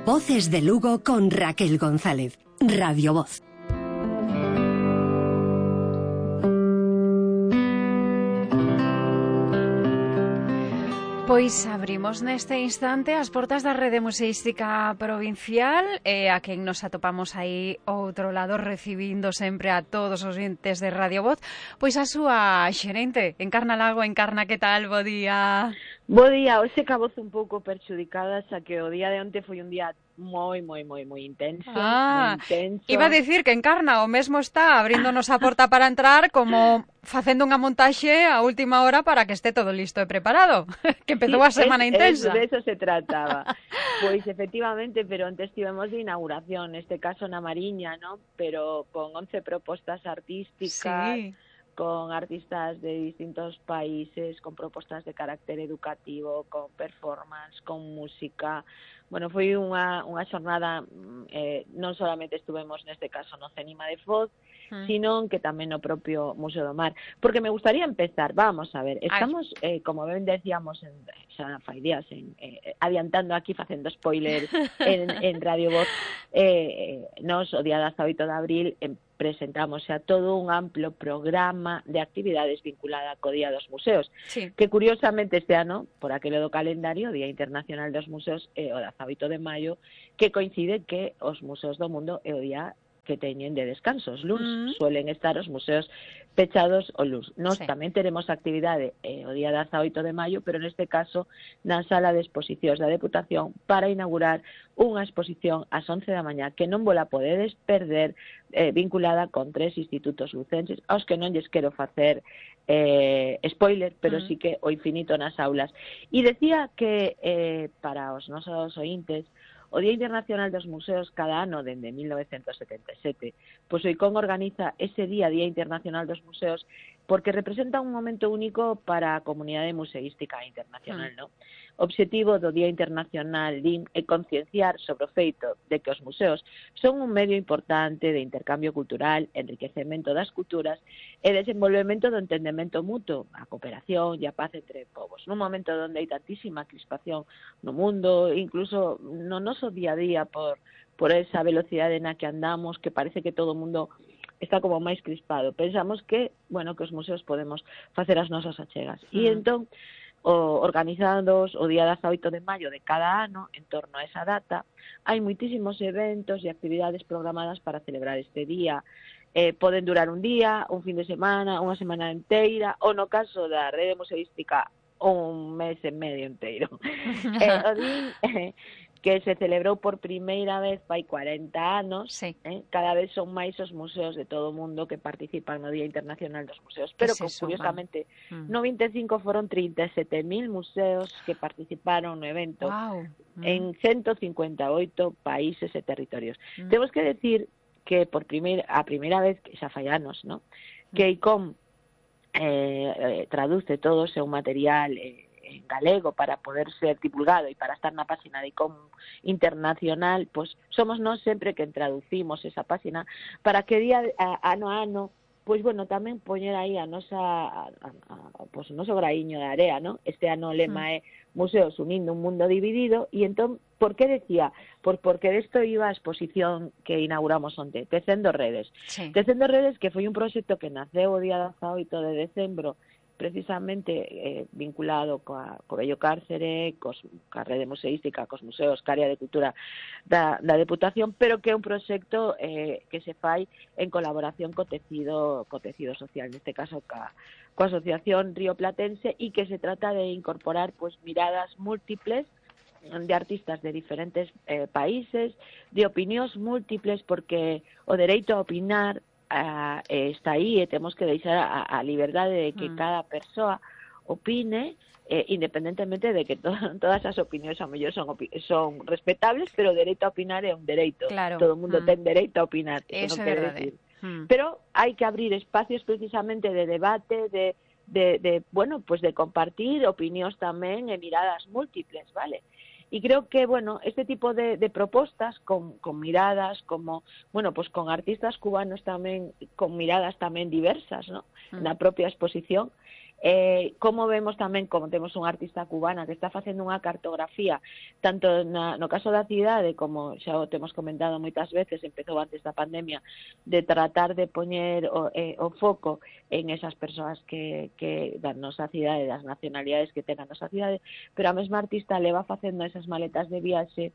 Voces de Lugo con Raquel González. Radio Voz. Pois abrimos neste instante as portas da Rede Museística Provincial, a quen nos atopamos aí ao outro lado recibindo sempre a todos os entes de Radio Voz, pois a súa xerente, Encarna Lago. Encarna, que tal? Bo día. Bo día, hoxe caboz un pouco perxudicada, xa que o día de onte foi un día moi intenso, moi intenso. Iba a dicir que Encarna o mesmo está abríndonos a porta para entrar, como facendo unha montaxe a última hora para que este todo listo e preparado, que empezou a semana intensa. De eso se trataba. Pois efectivamente, pero antes estivemos de inauguración, neste caso na Mariña, ¿no? Pero con 11 propostas artísticas, sí, con artistas de distintos países, con propostas de carácter educativo, con performance, con música. Bueno, foi unha xornada, non solamente estuvemos neste caso no CENIMA de Foz, sino que tamén no propio Museo do Mar. Porque me gustaría empezar, vamos a ver, estamos, como ben decíamos, xa fai días, adiantando aquí, facendo spoiler en Radio Voz, nos, o día 18 de abril, presentamos a todo un amplo programa de actividades vinculada co Día dos Museos, sí, que curiosamente este ano, por aquelo do calendario, o Día Internacional dos Museos é o 18 de maio, que coincide que os museos do mundo é o día que teñen de descanso. Os luns suelen estar os museos pechados o luns. Nós tamén teremos actividade o día 18 de maio, pero neste caso na sala de exposicións da Deputación para inaugurar unha exposición ás 11 da mañá que non vola podedes perder, vinculada con 3 institutos lucenses, aos que non lles quero facer spoiler, pero sí que o infinito nas aulas. E decía que para os nosos ointes, o Día Internacional dos Museos cada ano dende 1977, pois o ICOM organiza ese Día Internacional dos Museos porque representa un momento único para a comunidade museística internacional, ¿no? O obxectivo do Día Internacional DIN é concienciar sobre o feito de que os museos son un medio importante de intercambio cultural, enriquecemento das culturas e desenvolvemento do entendemento mutuo, a cooperación e a paz entre povos. Nun momento onde hai tantísima crispación no mundo, incluso no noso día a día por esa velocidade na que andamos, que parece que todo o mundo está como máis crispado. Pensamos que, bueno, que os museos podemos facer as nosas achegas. E entón, organizados o día 18 de maio de cada ano, en torno a esa data, hai moitísimos eventos e actividades programadas para celebrar este día. Poden durar un día, un fin de semana, unha semana inteira, ou no caso da Rede Museística, un mes e medio inteiro. O día que se celebrou por primeira vez fai 40 anos, sí, cada vez son máis os museos de todo o mundo que participan no Día Internacional dos Museos, pero que curiosamente no 25 foron 37.000 museos que participaron no evento en 158 países e territorios. Temos que decir que a primeira vez, que xa fai anos, ¿no?, que ICOM traduce todo o seu material en galego para poder ser divulgado e para estar na página de ICOM internacional, pois somos nós sempre que traducimos esa página para que día ano a ano, pois bueno, tamén poñer aí a nosa pois o noso graíño de area, ¿no? Este ano o lema é Museos unindo un mundo dividido, e entón, por que decía? Pois porque desto iba a exposición que inauguramos onte, Tecendo Redes. Sí. Tecendo Redes, que foi un proxecto que naceu o día 18 de decembro, precisamente vinculado co Bello Cárcere, coa Rede Museística, cos museos, ca área de cultura da Deputación, pero que é un proxecto que se fai en colaboración co tecido social, neste caso coa Asociación Río Platense, e que se trata de incorporar pues miradas múltiples de artistas de diferentes países, de opinións múltiples, porque o dereito a opinar está aí e temos que deixar a liberdade de que cada persoa opine, independentemente de que todas as opinións a mellor son respetables, pero o dereito a opinar é un dereito. Claro. Todo o mundo ten dereito a opinar. Eso é verdade. Pero hai que abrir espacios precisamente de debate, bueno, pues de compartir opinións tamén e miradas múltiples, vale? Y creo que, bueno, este tipo de propostas con miradas como, bueno, pues con artistas cubanos tamén, con miradas tamén diversas, ¿no?, na propia exposición, Como vemos tamén, como temos unha artista cubana que está facendo unha cartografía, tanto no caso da cidade, como xa o temos comentado moitas veces, empezou antes da pandemia, de tratar de poñer o foco en esas persoas que da nosa cidade, das nacionalidades que ten a nosa cidade, pero a mesma artista leva facendo esas maletas de viaxe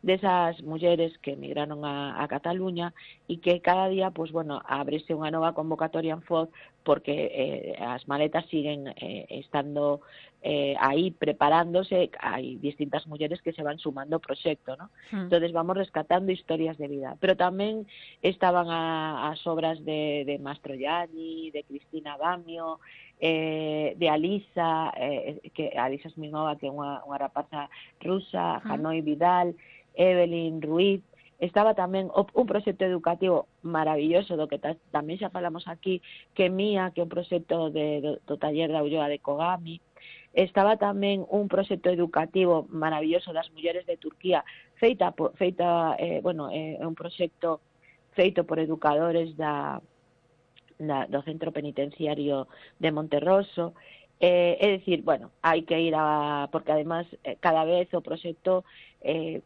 desas mulleres que emigraron a Cataluña e que cada día, pues bueno, ábrese unha nova convocatoria en FOD porque as maletas siguen estando aí preparándose, hai distintas mulleres que se van sumando ao proxecto, ¿no? Entonces vamos rescatando historias de vida, pero tamén estaban as obras de Mastroianni, de Cristina Bamio, de Alisa, que Alisa Smirnova, que é unha rapaza rusa, Hanoi Vidal, Evelyn Ruiz. Estaba tamén un proxecto educativo maravilloso do que tamén xa falamos aquí, que Mía, que é un proxecto do taller da Ulloa de Kogami. Estaba tamén un proxecto educativo maravilloso das mulleres de Turquía, un proxecto feito por educadores do centro penitenciario de Monterroso. É dicir, bueno, hai que ir porque además cada vez o proxecto,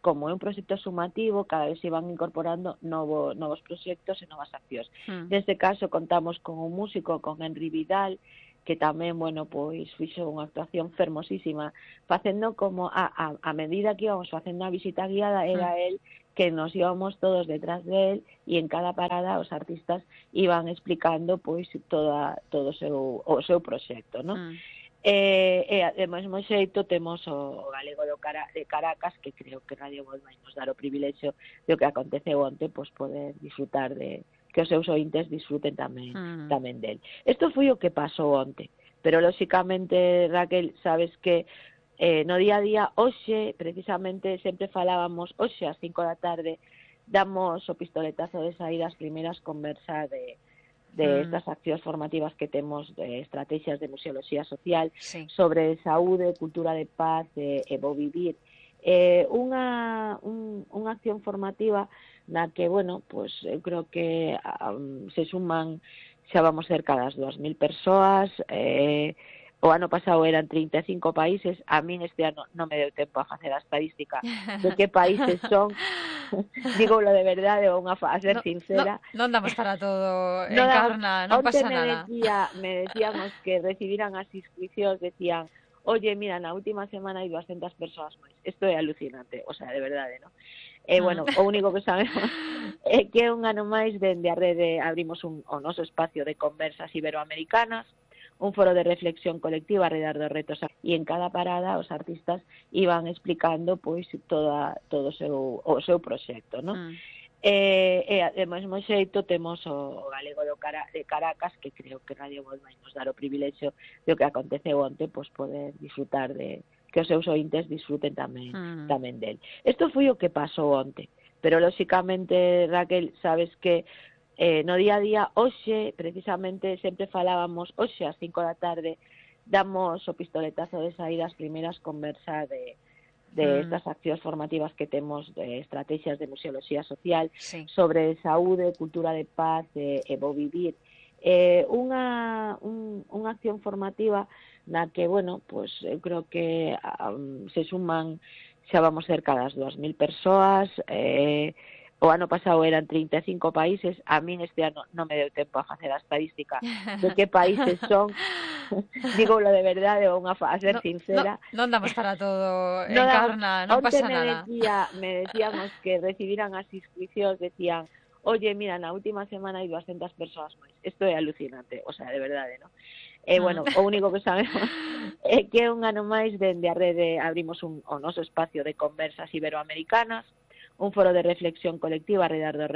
como é un proxecto sumativo, cada vez se van incorporando novos proxectos e novas accións. Neste caso contamos con un músico, con Henry Vidal, que tamén, bueno, pois fixo unha actuación fermosísima, facendo como a medida que íbamos facendo a visita guiada, era el que nos íbamos todos detrás de él e en cada parada os artistas iban explicando pois todo o seu proxecto, ¿no? E de mesmo xeito temos o galego de Caracas, que creo que Radio Voz vai nos dar o privilexio de o que aconteceu onte, pois poder disfrutar que os seus ointes disfruten tamén del. Isto foi o que pasou onte, pero lóxicamente, Raquel, sabes que no día a día, hoxe, precisamente, sempre falábamos, hoxe ás 5 da tarde, damos o pistoletazo de saída as primeiras conversas de estas accións formativas que temos de estrategias de museoloxía social sobre saúde, cultura de paz e bo vivir. Unha acción formativa na que, bueno, pues eu creo que se suman, xa vamos cerca das 2.000 persoas. O ano pasado eran 35 países, a min este ano non me deu tempo a facer a estadística de que países son, dígolo de verdade, a ser sincera. Non damos para todo, Encarna, non pasa nada. Me decíamos que recibiran as inscripcións, decían, oye, mira, na última semana hai 200 persoas máis. Isto é alucinante, o sea, de verdade, ¿no? Bueno, o único que sabemos é que un ano máis dende a rede abrimos o noso espacio de conversas iberoamericanas, un foro de reflexión colectiva alrededor dos retos, e en cada parada os artistas iban explicando pois todo o seu proxecto, ¿no? De mesmo xeito temos o galego de Caracas, que creo que Radio Voz vai nos dar o privilexio de o que aconteceu onte, pois poder disfrutar que os seus ointes disfruten tamén del. Isto foi o que pasou onte, pero lóxicamente, Raquel, sabes que no día a día, hoxe, precisamente, sempre falábamos, hoxe ás 5 da tarde, damos o pistoletazo de saída as primeiras conversas de estas accións formativas que temos de estrategias de museoloxía social sobre saúde, cultura de paz e bo vivir. Unha acción formativa na que, bueno, pues eu creo que se suman, xa vamos cerca das 2.000 persoas. O ano pasado eran 35 países, a min este ano non me deu tempo a facer a estadística de que países son, dígolo de verdade, a ser sincera. Non damos para todo, Encarna, non pasa nada. Me decíamos que recibiran as inscripcións, decían, oye, mira, na última semana hai 200 persoas máis. Isto é alucinante, o sea, de verdade, ¿no? Bueno, o único que sabemos é que un ano máis dende a rede abrimos o noso espacio de conversas iberoamericanas, un foro de reflexión colectiva alrededor dos retos